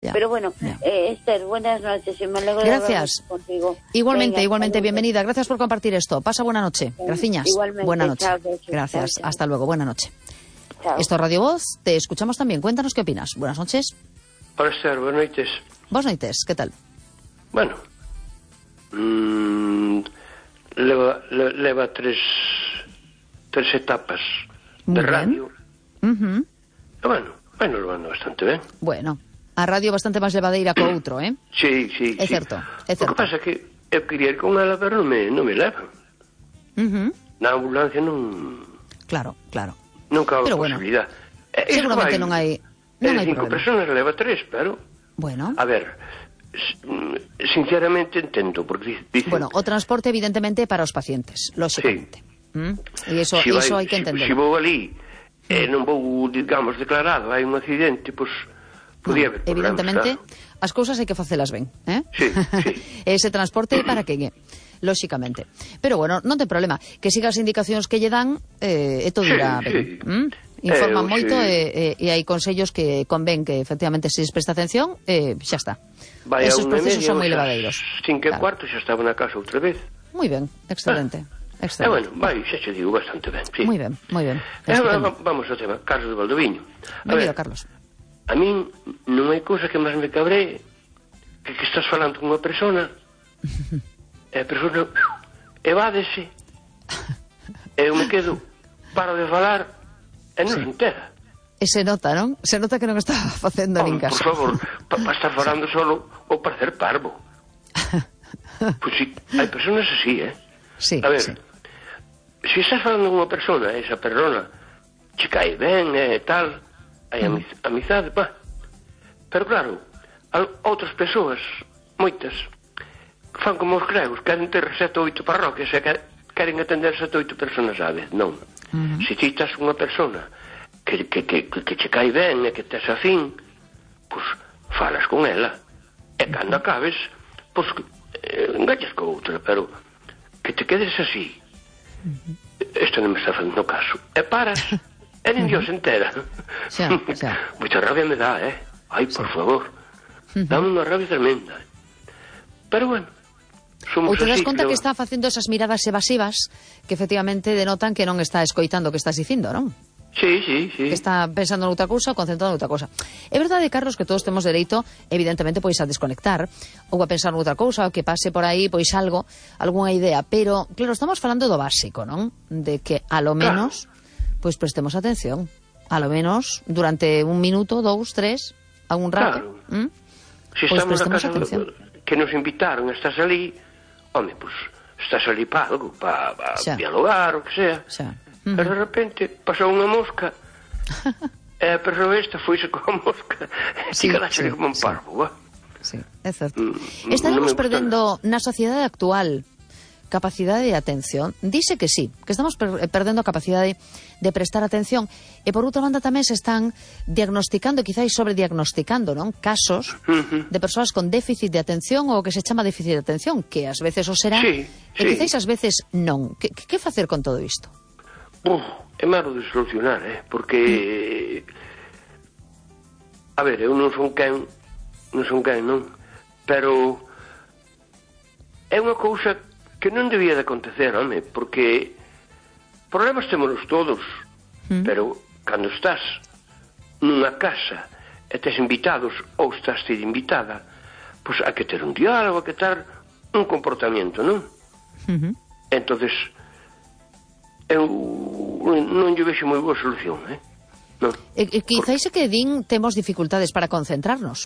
Ya, Pero bueno, ya. Esther, buenas noches y me alegro Gracias. de hablar contigo. Igualmente, Venga, igualmente, saludos. bienvenida. Gracias por compartir esto. Pasa buena noche. Graciñas. Igualmente, Buena noche. chao, besos, Gracias. chao, chao. Hasta luego. Buena noche. Chao. Esto es Radio Voz. Te escuchamos también. Cuéntanos qué opinas. Buenas noches. Hola, Esther, buenas noites. Buenas noites. ¿Qué tal? Bueno, leva tres etapas Muy de bien. radio. Ujú. E bueno, levando bastante ben. Bueno, a radio bastante máis levadeira co outro, eh? Sí. É certo, é O que certo. pasa é que eu quería ir con ela, pero non me levan. Ujú. Na ambulancia non Claro, claro. cabe Pero bueno, posibilidad. seguramente non hai cinco problema. personas, leva tres, pero... Bueno. A ver, sinceramente entendo, porque dice... Bueno, o transporte evidentemente para os pacientes, lógicamente. E iso hai que entender. Se vou ali non vou, digamos, declarado, hai un accidente, pois podía haber problemas, Evidentemente, claro. as cousas hai que facelas ben, eh? Sí. Ese transporte para que lógicamente. Pero bueno, non ten problema. Que siga as indicacións que lle dan e todo irá ben. Informan moito e hai consellos que convén que efectivamente se les presta atención xa está. Esos procesos son moi levadeiros. 5:15 xa estaba na casa outra vez. Moi ben, excelente. Bueno, xa che digo bastante ben, sí. Moi ben. Vamos ao tema, Carlos de Valdoviño. Benvido, Carlos. A min non hai cousa que máis me cabree que estás falando con unha persona e a persona evádese e eu me quedo, paro de falar e non se entera. E se nota, non? Se nota que non está facendo nin caso. Por favor, para estar falando solo ou para ser parvo. Pois si, hai personas así, Sí, a ver, sí. se estás falando con unha persona, esa persona che cae ben e tal, hai amizade, pá. Pero claro, outras persoas, moitas, fan como os gregos, queren ter 7 ou 8 parroquias e queren atender 7 ou 8 personas á vez. Non. Se ti estás unha persona que che cae ben e que tes afín, pois falas con ela. E cando acabes, pois engañas co outra, pero que te quedes así. Isto non me está facendo caso. E paras, e nin Dios entera. Xa. Moita rabia me dá, Ai, por favor. Dame unha rabia tremenda. Pero bueno, somos Ou te das así. conta que está facendo esas miradas evasivas que efectivamente denotan que non está escoitando o que estás dicindo, non? Sí. Que está pensando noutra cousa ou concentrado noutra cousa. É verdade, Carlos, que todos temos dereito, evidentemente, pois a desconectar ou a pensar noutra cousa, ou que pase por aí, pois algo, algunha idea, pero, claro, estamos falando do básico, non? De que, a lo menos, pois prestemos atención. A lo menos, durante 1 minuto, 2, 3, algún rato. Claro. Se Pois estamos na prestemos casa atención. que nos invitaron, estás ali, home, pois, estás ali para algo, para Xa. dialogar, o que sea. Xa. Pero de repente pasou unha mosca e a persoa esta foise coa mosca e Sí, ti quedaste sí, como un sí. parvo, Sí, é certo. non Estaremos me gusta perdendo na sociedade actual capacidade de atención. Dice que sí, que estamos perdendo a capacidade de prestar atención e por outra banda tamén se están diagnosticando, quizáis sobrediagnosticando, non? Casos de persoas con déficit de atención ou que se chama déficit de atención, que ás veces o será Sí, e sí. quizáis ás veces non. Que facer con todo isto? É malo de solucionar, porque a ver, eu non son quen, non, pero é unha cousa que non debía de acontecer, home, porque problemas témonos todos, pero cando estás nunha casa e tes invitados ou estás ti invitada, pois hai que ter un diálogo, hai que ter un comportamento, non? Entonces eu non lle vexo moi boa solución, non. Quizáis é que din temos dificultades para concentrarnos.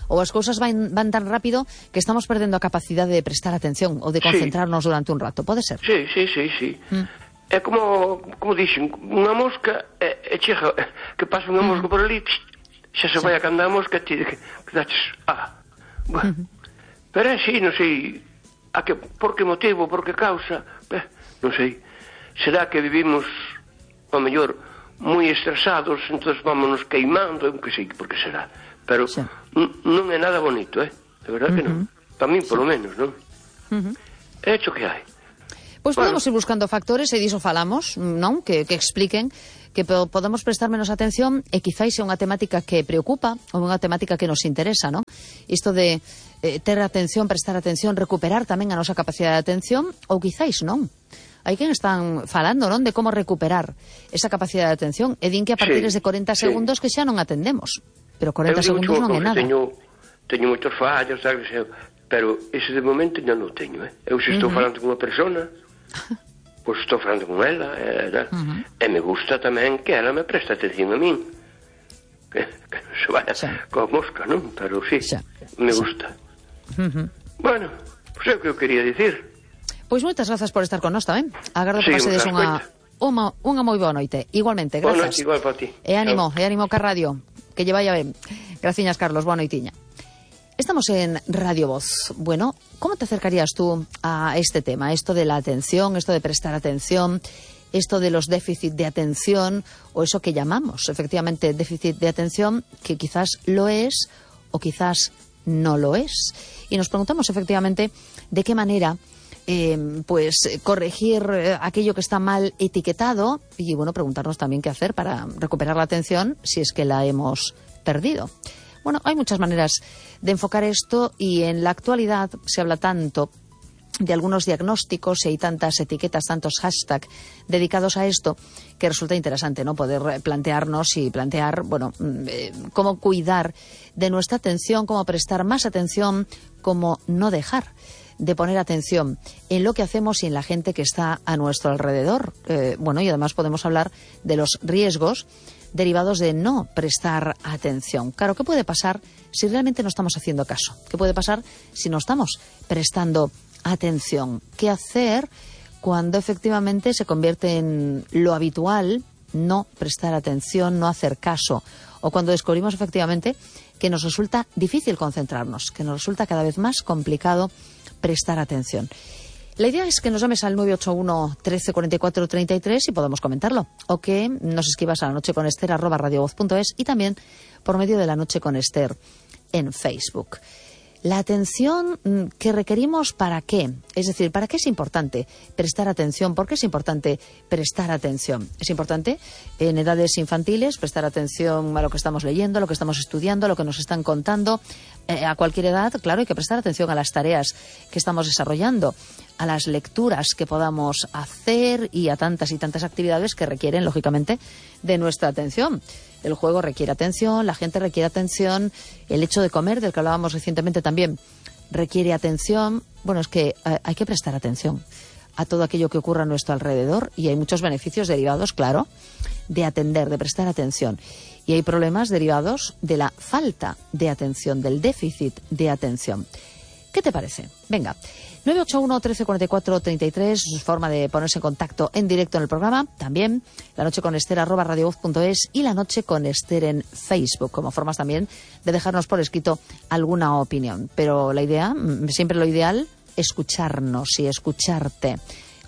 Ou as cousas van tan rápido que estamos perdendo a capacidade de prestar atención ou de concentrarnos durante un rato. Pode ser? Sí. É como dixen, unha mosca e chega, que pasa unha mosca por ali, xa se vai a canda a mosca e ti quedaches, bueno. Pero é así, non sei por que motivo, por que causa, non sei. Será que vivimos, ao mellor, moi estresados, entón vámonos queimando, eu que sei por que será. Pero non é nada bonito, de verdad que non. Para min, polo menos, non? É hecho que hai. Pois podemos ir buscando factores, e diso falamos, non? Que expliquen que podemos prestar menos atención e quizáis é unha temática que preocupa ou unha temática que nos interesa, non? Isto de ter atención, prestar atención, recuperar tamén a nosa capacidade de atención, ou quizáis non. Hai quen están falando, non? De como recuperar esa capacidade de atención e din que a partir de 40 segundos que xa non atendemos. Pero 40 segundos non é nada. Teño moitos fallos, sabes? Pero ese de momento non o teño, Eu se estou falando con unha persona, pois estou falando con ela, e me gusta tamén que ela me preste atención a min. Que non se vaya coa mosca, non? Pero sí, me gusta. Bueno, pois é o que eu quería dicir. Pois moitas grazas por estar con nós tamén. Agardo que pasedes unha moi boa noite. Igualmente, grazas. Boa noite, igual para ti. E ánimo ca radio, que lle vaya ben. Graciñas, Carlos, boa noitiña. Estamos en Radio Voz. Bueno, ¿cómo te acercarías tú a este tema? Esto de la atención, esto de prestar atención, esto de los déficits de atención, o eso que llamamos efectivamente déficit de atención, que quizás lo es o quizás no lo es. Y nos preguntamos efectivamente de qué manera pues corregir aquello que está mal etiquetado y bueno, preguntarnos también qué hacer para recuperar la atención si es que la hemos perdido. Bueno, hay muchas maneras de enfocar esto y en la actualidad se habla tanto de algunos diagnósticos y hay tantas etiquetas, tantos hashtags dedicados a esto que resulta interesante, ¿no? Poder plantearnos y plantear, bueno, cómo cuidar de nuestra atención, cómo prestar más atención, cómo no dejar de poner atención en lo que hacemos y en la gente que está a nuestro alrededor. Bueno, y además podemos hablar de los riesgos derivados de no prestar atención. Claro, ¿qué puede pasar si realmente no estamos haciendo caso? ¿Qué puede pasar si no estamos prestando atención? ¿Qué hacer cuando efectivamente se convierte en lo habitual no prestar atención, no hacer caso? O cuando descubrimos efectivamente que nos resulta difícil concentrarnos, que nos resulta cada vez más complicado prestar atención. La idea es que nos llames al 981 13 44 33 y podamos comentarlo. O que nos escribas a lanocheconester@radiovoz.es y también por medio de La Noche con Ester en Facebook. La atención que requerimos, ¿para qué? Es decir, ¿para qué es importante prestar atención? ¿Por qué es importante prestar atención? Es importante en edades infantiles prestar atención a lo que estamos leyendo, a lo que estamos estudiando, a lo que nos están contando. A cualquier edad, claro, hay que prestar atención a las tareas que estamos desarrollando, a las lecturas que podamos hacer y a tantas y tantas actividades que requieren, lógicamente, de nuestra atención. El juego requiere atención, la gente requiere atención, el hecho de comer, del que hablábamos recientemente también, requiere atención. Bueno, es que hay que prestar atención a todo aquello que ocurra a nuestro alrededor y hay muchos beneficios derivados, claro, de atender, de prestar atención. Y hay problemas derivados de la falta de atención, del déficit de atención. ¿Qué te parece? Venga, 981 13 44 33, forma de ponerse en contacto en directo en el programa. También lanocheconester@radiovoz.es y La Noche con Ester en Facebook, como formas también de dejarnos por escrito alguna opinión. Pero la idea, siempre lo ideal, escucharnos y escucharte.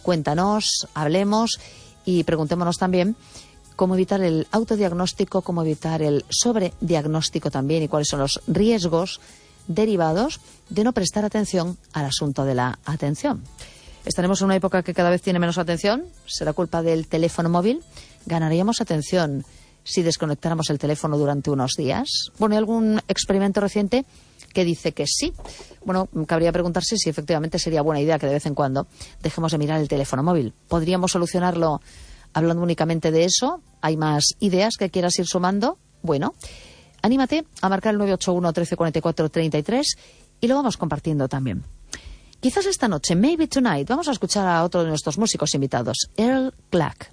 Cuéntanos, hablemos y preguntémonos también cómo evitar el autodiagnóstico, cómo evitar el sobrediagnóstico también y cuáles son los riesgos derivados de no prestar atención al asunto de la atención. ¿Estaremos en una época que cada vez tiene menos atención? ¿Será culpa del teléfono móvil? ¿Ganaríamos atención si desconectáramos el teléfono durante unos días? Bueno, ¿hay algún experimento reciente que dice que sí? Bueno, cabría preguntarse si efectivamente sería buena idea que de vez en cuando dejemos de mirar el teléfono móvil. ¿Podríamos solucionarlo hablando únicamente de eso? ¿Hay más ideas que quieras ir sumando? Bueno, anímate a marcar el 981 13 44 33 y lo vamos compartiendo también. Quizás esta noche, maybe tonight, vamos a escuchar a otro de nuestros músicos invitados, Earl Clark.